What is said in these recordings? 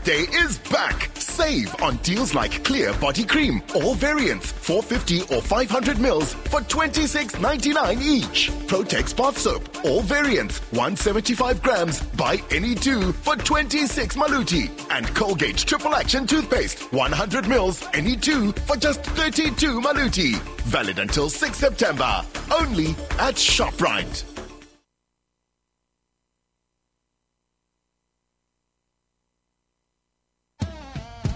Day is back. Save on deals like Clear Body Cream, all variants, 450 or 500 mils for 26.99 each. Protex Bath Soap, all variants, 175 grams, buy any two for 26 maluti. And Colgate Triple Action Toothpaste, 100 mils, any two for just 32 maluti. Valid until 6 September. Only at ShopRite.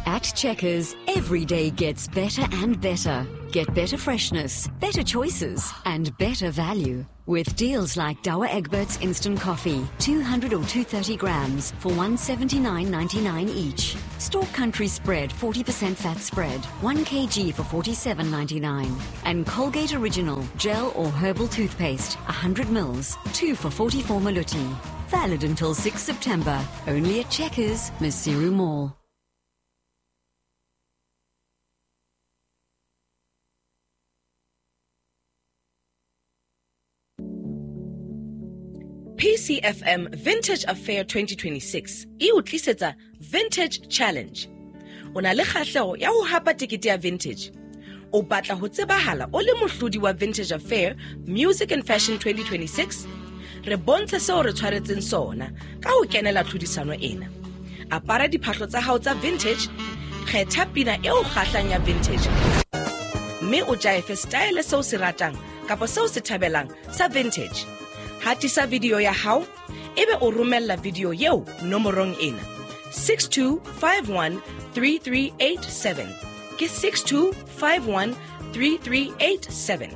At Checkers, every day gets better and better. Get better freshness, better choices, and better value. With deals like Douwe Egberts Instant Coffee, 200 or 230 grams for 179.99 each. Stork Country Spread 40% fat spread, 1 kg for 47.99. And Colgate Original Gel or Herbal Toothpaste, 100 mils, 2 for 44 maluti. Valid until 6 September. Only at Checkers, Maseru Mall. PCFM Vintage Affair 2026 e o tlisetsa Vintage Challenge. O na le kgahleho ya ho hapa tekete ya Vintage. O batla ho tsebahala o le mohlodi wa Vintage Affair Music and Fashion 2026? Re bontshe seo re tshwaretseng sona ka ho kenela tlhodisano ena. Apara diphahlo tsa hao tsa vintage, kgetha pina e o kgahlang ya vintage, mme o jaefe style seo se ratang kapa seo se thabelang sa vintage. Hatisa video ya hao ebe o romella video eo nomorong ena 62513387. Ke 62513387.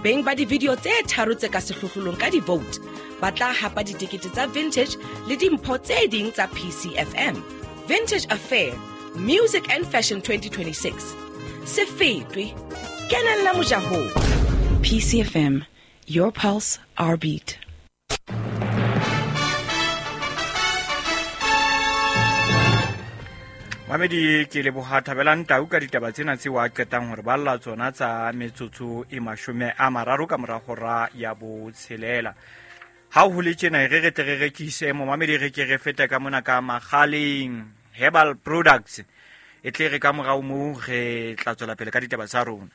Beng ba di-video tse tharo tse ka sehlohlolong ka di-vote ba tla hapa ditekete tsa vintage le dimpho tse ding tsa PCFM. Vintage Affair Music and Fashion 2026. Se fetwe, kenella mojahong. PCFM, your pulse, our beat. Mamedi ke leboha Thabelang Tau ka ditaba tsena tseo a qetang hore balla tsona tsa metsotso e 30 ka mora hora ya botshelela. Ha ho le tjena re re tle re rekise momamedi re ke re fete ka mona ka Makgaleng Herbal Products e tle re ka morao moo re tla tswela pele ka ditaba tsa rona.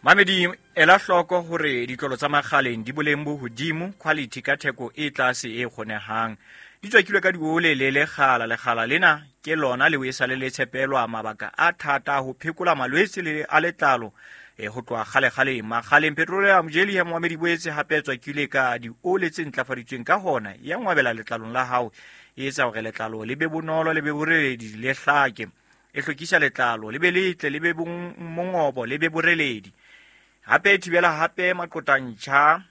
Mamedi ela hloko hore ditlolo tsa Makgaleng di boleng bo hodimo, quality ka theko e tlase e kgonehang. Di tswakilwe ka diole le lekgala, lekgala lena ke lona leo e sale le tshepelwa mabaka a thata ho phekola malwetse le a letlalo ho tloha kgale-kgaleng. Makgaleng Petroleum Jelly ya momamedi boetse hape tswakilwe ka diole tse ntlafaditsweng, ka hona ya ngwabela letlalong la hao, e etsa hore letlalo le be bonolo, le be boreledi, le hlake. E hlwekisa letlalo le be letle, le be mongobo, le be boreledi. Hape e thibela hape maqotantjha,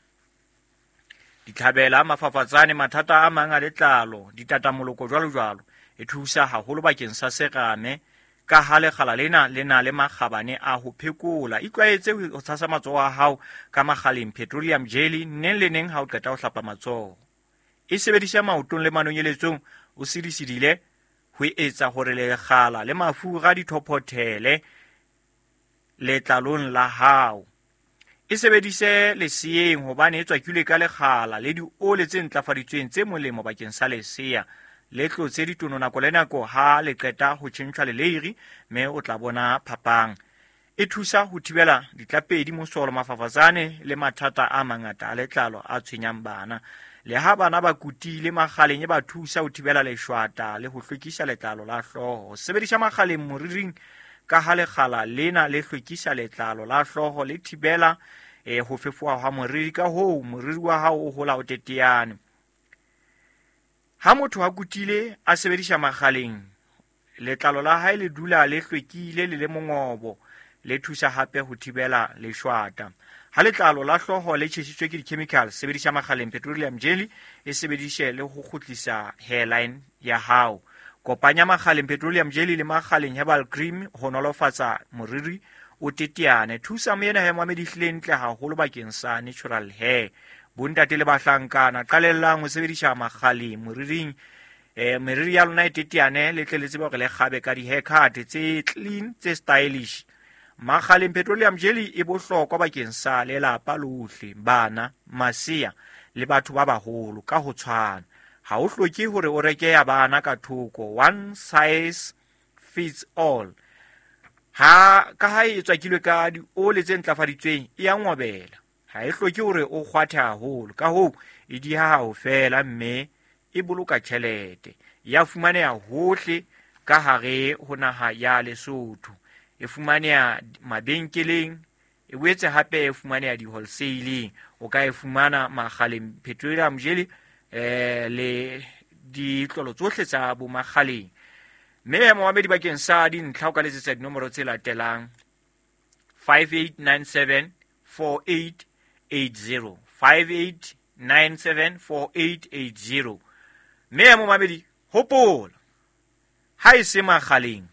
ditlhabela, mafafatsane, mathata a mang a letlalo, ditatamoloko jwalo jwalo. E thusa haholo bakeng sa serame ka ha lekgala lena le na le makgabane a ho phekola. Itlwaetse ho tshasa matsoho a hao ka Makgaleng Petroleum Jelly neng le neng ha o qeta ho hlapa matsoho. E sebedisa maotong le manonyeletsong o sidisidile ho etsa hore lekgala le mafura di thophothele letlalong la hao. E sebedise leseeng hobane e tswakilwe ka lekgala le diole tse ntlafaditsweng tse molemo bakeng sa lesea. Le tlotse ditono nako le nako ha le qeta ho tjhentjhwa leleiri, mme o tla bona phapang. E thusa ho thibela ditlapedi, mosolo, mafafatsane le mathata a mangata a letlalo a tshwenyang bana. Le ha bana ba kutile, Makgaleng e ba thusa ho thibela leshwata le ho hlwekisa letlalo la hlooho. Sebedisa Makgaleng moriring ka ha lekgala lena le hlwekisa letlalo la hlooho, le thibela ho fefoha ha moriri, ka hoo moriri wa hao o hola o teteane. Ha motho a kutile a sebedisa Makgaleng, letlalo la hae le dula le hlwekile le le mongobo, le thusa hape ho thibela leshwata. Ha letlalo la hlooho le tjhesitswe ke di-chemicals, sebedisa Makgaleng Petroleum Jelly, e sebedise le ho kgutlisa hairline ya hao. Kopanya Makgaleng Petroleum Jelly le Makgaleng Herbal Cream ho nolofatsa moriri o teteane. Thusa moena he momamedi ehlile ntle haholo bakeng sa natural hair. Bontate le bahlankana, qalellang ho sebedisa Makgaleng moriring. Meriri ya lona e teteane, le tle le tsebe hore le kgabe ka di-haircut tse clean, tse stylish. Makgaleng Petroleum Jelly e bohlokwa bakeng sa lelapa lohle, bana, masea le batho ba baholo ka ho tshwana. Ha o hloke hore o reke ya bana ka thoko, one size fits all. Ha ka ha e tswakilwe ka diole tse ntlafaditsweng e ya ngobela, ha e hloke hore o kgwathe haholo, ka hoo e diha ho fela mme e boloka tjhelete. Ya fumaneha hohle ka hare ho naha ya Lesotho, e fumaneha mabenkeleng, e boetse hape e fumaneha di-wholesaleng. O ka e fumana Makgaleng Petroleum Jelly le ditlolo tsohle tsa bo Makgaleng. Mme momamedi bakeng sa dintlha o ka letsetsa dinomoro tse latelang: 5897 4880, 5897 4880. Mme momamedi, hopola, ha e se Makgaleng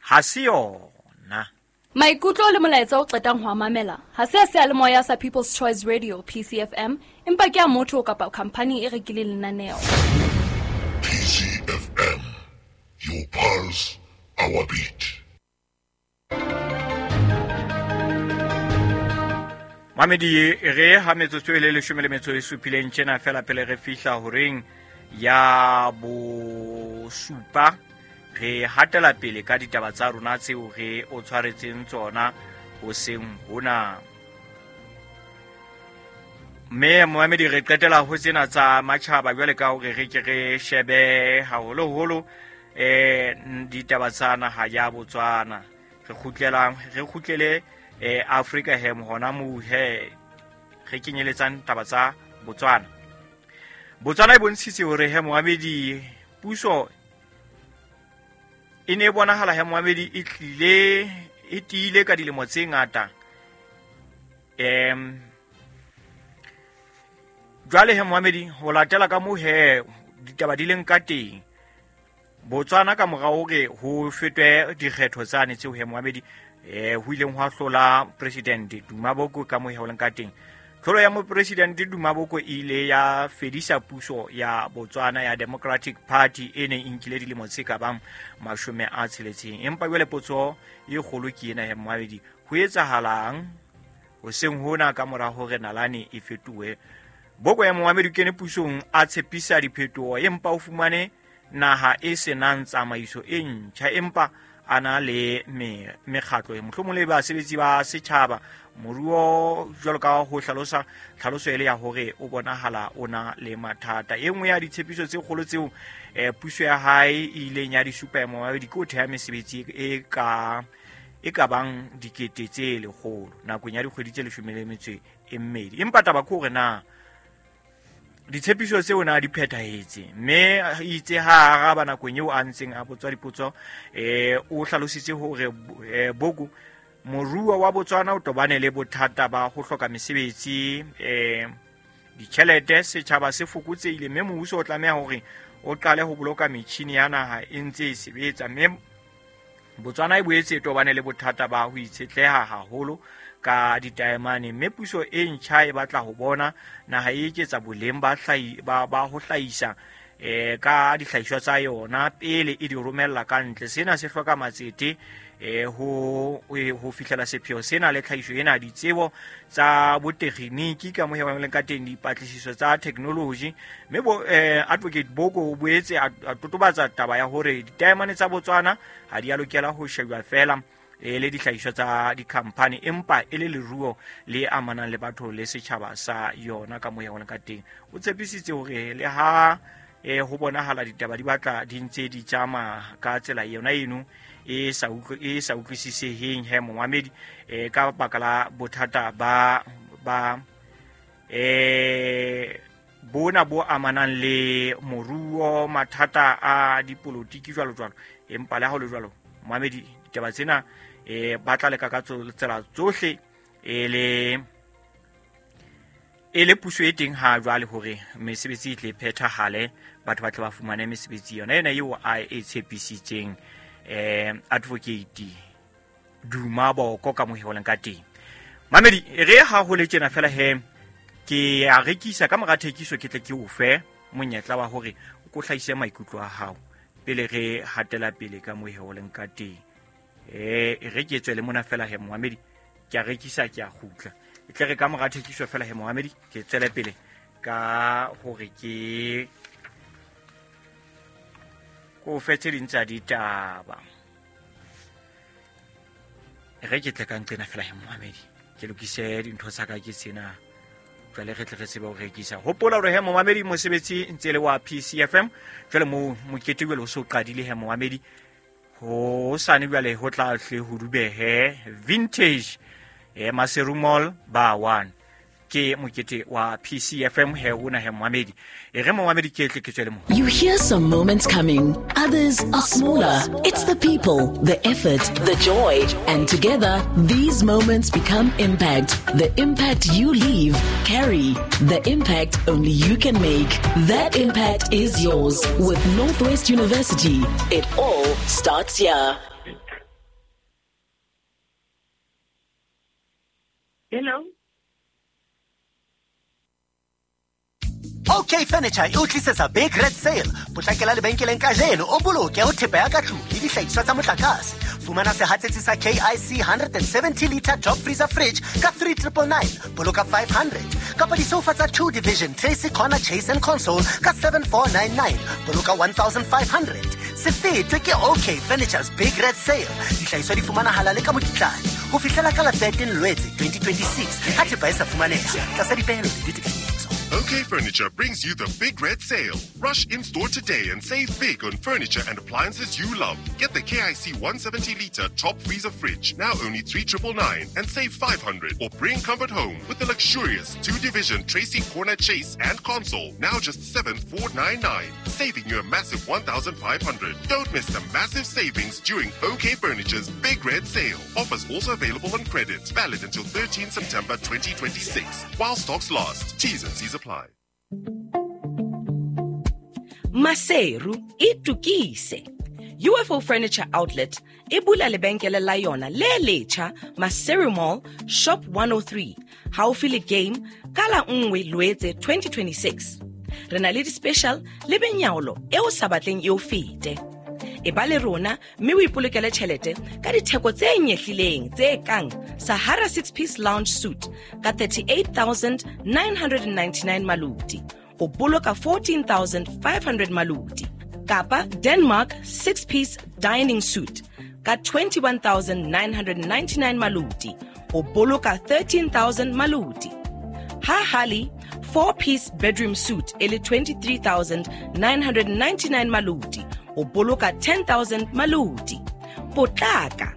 ha se yona. Maikutlo le molaetsa o qetang ho a mamela ha se a seyalemoya sa People's Choice Radio PCFM, empa ke a motho kapa khampani e rekileng lenaneo. PCFM, your pulse, our beat. Mamedi, re ha metsotso e le 17 tjena fela pele re fihla horeng ya bosupa, re hatela pele ka ditaba tsa rona tseo re o tshwaretseng tsona hoseng hona. Mme momamedi, re qetela ho tsena tsa matjhaba jwale ka hore re ke re shebe haholoholo ditaba tsa naha ya Botswana. Re kgutlele Afrika hem hona moo he re kenyeletsang taba tsa Botswana. Botswana e bontshitse hore he momamedi, puso e ne e bonahala he momamedi e tlile e tiile ka dilemo tse ngata. Jwale he momamedi, ho latela ka moo he ditaba di leng ka teng, Botswana ka mora hore ho fetwe dikgetho tsane tseo he momamedi ho ileng hwa hlola President Duma Boko ka moo he ho leng ka teng. Tlholo ya mopresidente Duma Boko e ile ya fedisa puso ya Botswana ya Democratic Party e neng e nkile dilemo tse ka bang 60. Empa jwale potso e kgolo ke ena he momamedi, ho etsahalang hoseng hona ka mora hore nalane e fetohe? Boko ya momamedi o kene pusong a tshepisa diphetoho, empa o fumane naha e senang tsamaiso e ntjha, empa a na le mekgatlo mohlomong le basebetsi ba setjhaba. Moruo jwalo ka ho hlalosa tlhaloso ele ya hore o bonahala o na le mathata. E nngwe ya ditshepiso tse kgolo tseo puso ya hae e ileng ya di supa ya momamedi ke ho theha mesebetsi e ka bang 100,000 nakong ya dikgwedi tse 12. Empa taba ke hore na ditshepiso tseo na di phethahetse, mme itse ha araba nakong eo a ntseng a botswa dipotso, o hlalositse hore Boko moruo wa Botswana o tobane le bothata ba ho hloka mesebetsi, ditjhelete, setjhaba se fokotsehile, mme mmuso o tlameha hore o qale ho boloka metjhini ya naha e ntse e sebetsa. Mme Botswana e boetse e tobane le bothata ba ho itshetleha haholo ka ditaemane, mme puso e ntjha e batla ho bona naha e eketsa boleng ba ho hlahisa ka dihlahiswa tsa yona pele e di romella ka ntle. Sena se hloka matsete ho fihlela sepheo sena le tlhahiso ena, ditsebo tsa botekginiki ka moo ho leng ka teng, dipatlisiso tsa technology. Mme Advocate Boko o boetse a totobatsa taba ya hore ditaemane tsa Botswana ha di a lokela ho shejwa fela e le dihlahiswa tsa dikhampani, empa e le leruo le amanang le batho le setjhaba sa yona ka moo ho leng ka teng. O tshepisitse hore le ha ho bonahala ditaba di batla di ntse di tsamaya ka tsela yona eno e sa utlwisiseheng he momamedi, ka baka la bothata ba bona bo amanang le moruo, mathata a dipolotiki jwalo jwalo. Empa le ha ho le jwalo momamedi, ditaba tsena ba tla leka ka tsela tsohle e le puso e teng ha jwale hore mesebetsi e tle phethahale, batho ba tle ba fumane mesebetsi yona ena eo a e tshepisitseng Advocate Duma Boko ka moo ho leng ka teng. Mamedi, re ha ho le tjena fela he ke a rekisa ka mora thekiso, ke tle ke o fe monyetla wa hore o ko hlahise maikutlo a hao pele re hatela pele ka moo ho leng ka teng. Re ke tswele mona fela he momamedi, ke a rekisa, ke a kgutla. E tle re ka mora thekiso fela he momamedi, ke tswele pele ka hore ke ko fe tse ding tsa ditaba. Re ke tle ka nqena fela he momamedi, ke lokise dintho tsa ka ke tsena jwale re tle re tsebe ho rekisa. Hopola hore he momamedi mosebetsi ntse le wa PCFM jwale mo mokete jwale o so qadile he momamedi, ho sane jwale ho tla hle ho dubehe Vintage Maseru Mall ba 1 ke mokete wa PCFM he una he momamedi. E re momamedi ke tle ke tswele mo. You hear some moments coming, others are smaller. It's the people, the effort, the joy, and together these moments become impact. The impact you leave, carry. The impact only you can make. That impact is yours with Northwest University. It all starts here. Hello. OK Furniture e o tlisetsa Big Red Sale. Potlakela lebenkeleng kajeno o boloke ho thepa ya ka tlung le dihlahiswa tsa motlakase. Fumana sehatsetsi sa KIC 170 liter top freezer fridge ka 3999, boloka 500. Kapa disofa tsa 2 division Tracy Corner Chase and Console ka 7499, boloka 1500. Se fetwe ke OK Furniture's Big Red Sale. Dihlahiswa di fumanahala le ka mokitlane ho fihlela ka la 13 Lwetse 2026. Ha thepa e sa fumaneha tlasa dipehelo le ditefiso. OK Furniture brings you the Big Red Sale. Rush in-store today and save big on furniture and appliances you love. Get the KIC 170-litre top freezer fridge, now only 3999, and save 500. Or bring comfort home with the luxurious 2-division Tracy Corner Chase and Console, now just 7499, saving you a massive 1,500. Don't miss the massive savings during OK Furniture's Big Red Sale. Offers also available on credit. Valid until 13 September 2026. While stocks last. T's and C's apply. Maseru itukise. UFO Furniture Outlet e bula lebenkele la yona le letjha Maseru Mall Shop 103 haufi le Game ka la 1 Loetse 2026. Re na le di-special le benyaolo e o sa batleng e o fete. E ba le rona mme o ipolokele tjhelete ka ditheko tse nyehlileng tse kang Sahara 6-piece lounge suite ka 38,999 maluti, o boloka 14,500 maluti, kapa Denmark 6-piece dining suite ka 21,999 maluti, o boloka 13,000 maluti. Ha Hali 4-piece bedroom suite e le 23,999 maluti, o boloka 10,000 maluti. Potlaka,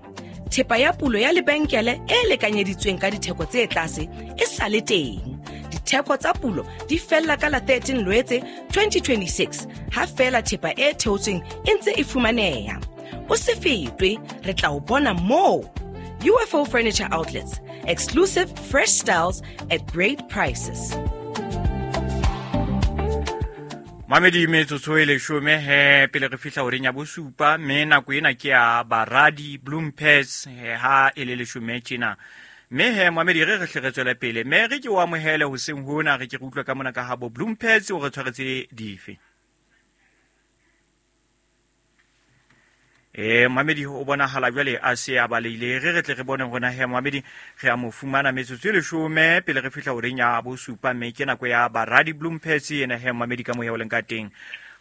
thepa ya pulo ya lebenkele e lekanyeditsweng ka ditheko tse tlase e sa le teng. Ditheko tsa pulo di fella ka la 13 Loetse 2026 ha fela thepa e theotsweng e ntse e fumaneha. O se fetwe, re tla o bona moo. UFO Furniture Outlets, exclusive fresh styles at great prices. Mamedi metsotso e leshome he pele re fihla horeng ya bosupa, mme nako ena ke ya Baradi Bloom Pets ha e le leshome tjena. Mme he mamedi re hle re tswele pele, mme re ke o amohele hoseng hona, re ke re utlwe ka mona ka habo Bloom Pets o re tshwaretse dife. Mamedi o bonahala jwale a se a baleile, re tle re bone hona he mamedi re a mo fumana metsotso e leshome pele re fihla horeng ya bosupa, mme ke nako ya Baradi Bloom Pets ena he mamedi ka moya o leng ka teng.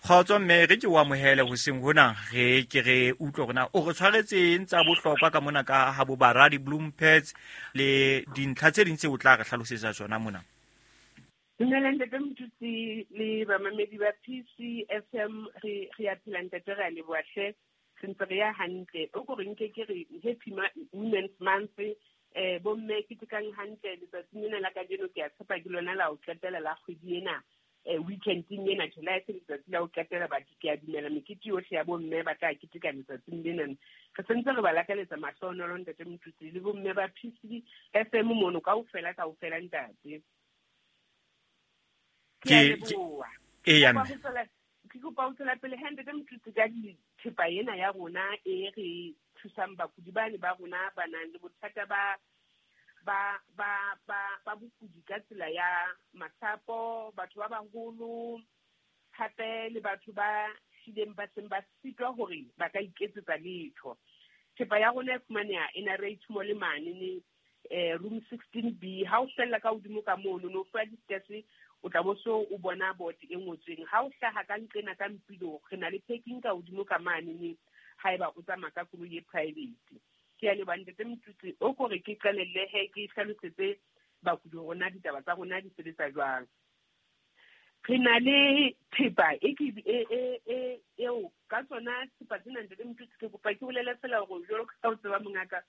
Kgotso mme re ke o amohele hoseng hona, re ke re utlwe hore na o re tshwaretseng tsa bohlokwa ka mona ka ha bo Baradi Bloom Pets le dintlha tse ding tse o tla re hlalosetsa tsona mona. Dumela ntate Mothusi le bamamedi ba PCFM, re a phela ntate, re a leboha hle. Re ntse re ya hantle. O ko re nke ke re Happy Women's Month, bomme ketekang hantle letsatsing lena la kajeno. Ke a tshepa ke lona la ho qetela la kgwedi ena, weekending ena July se letsatsi la ho qetela. Batho ke a dumela mekete yohle ya bomme ba tla keteka letsatsing lena. Re sentse re ba lakaletsa mahlohonolo ntate Mothusi le bomme ba PCFM mono kaofela kaofela ntate. Ke a leboha. Eya mme. Ke kopa ho tswela pele he ntate Mothusi ka thepa ena ya rona e re thusang bakudi bane ba rona ba nang le bothata ba bokudi ka tsela ya masapo, batho ba baholo, hape le batho ba hlileng ba seng ba sitwa hore ba ka iketsetsa letho. Thepa ya rona e fumaneha NRH mo le mane ne room 16B. Ha o fella ka hodimo ka mono no fuwa di-steps, O tla bo so o bona board e ngotsweng. Ha o hlaha ka nqena ka Mpilo, re na le parking ka hodimo ka mane haeba o tsamaya ka koloi e private. Ke a leboha, ntate Motutsi. O kore ke qalelle he ke hlalosetse bakudi rona ditaba tsa rona di sebetsa jwang. Re na le thepa e ke e e e eo ka tsona thepa tsena, ntate Motutsi, ke kopa ke bolele fela hore jwalo ka o tseba mongaka,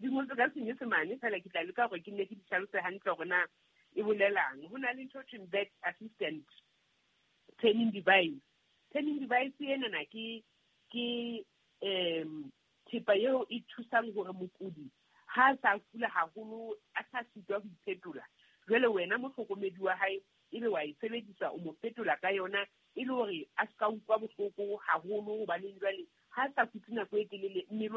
di ngotswe ka Senyesemane fela, ke tla leka hore ke nne ke di hlalose hantle hore na e bolelang. Ho na le ntho thweng bed assistant turning device. Turning device enana ke thepa eo e thusang hore mokudi ha a sa kula haholo, a sa sitwa ho iphetola, jwale wena mohlokomedi wa hae ebe wa e sebedisa, o mo fetola ka yona e le hore a ska utlwa bohloko haholo, hobaneng jwale ha sa kutse nako e telele mmele wa